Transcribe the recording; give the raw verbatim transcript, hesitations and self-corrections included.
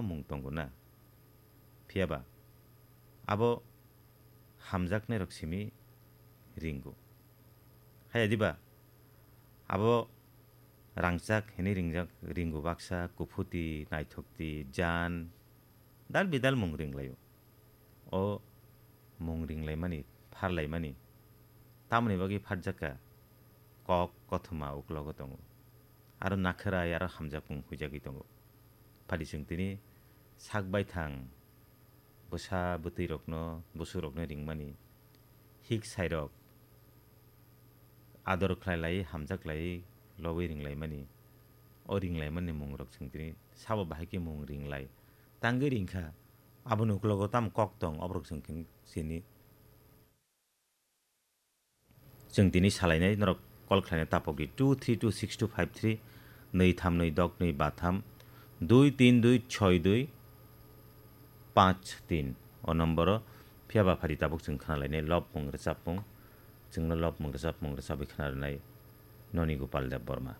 mung tongo na. Phiya ba abo hamjaknairok simi ringo. Haya diba abo rangchak hinwi ringjak, ringo baksa, kuphuti, naithokti, jan, dal bidal mung ringlaio. O mung ringlaimani, pharlaimani tamoni bagwi phatjakha kok kothoma uklogo tongo. Aro nakhwrai aro hamjakmung huijagwi tongo. Phadi chwng tini sak baithang bwsa bwtwirokno, bwswkrokno ringmani, hik sairok ador khlai lai, hamjak lai, lobwi ringlaimani, o ringlaimani mungrok chwng tini sabo bahai khe mung ringlai. Tangwi ringkha, aboni uklogo tamo kok tong, oborok chwng khe sini. Chwng tini salainai norok call khlaina tapok di two three two six two five three, nwi tham nwi dok nwi ba tham, dui tin dui choi dui panch tin. O nomboro phiya ba phari tabuk chwng khna lainai lobmung rwchapmung, chwngno lobmung rwchapmung rwchabwi khna rwnai noni Gopal Deb Borma.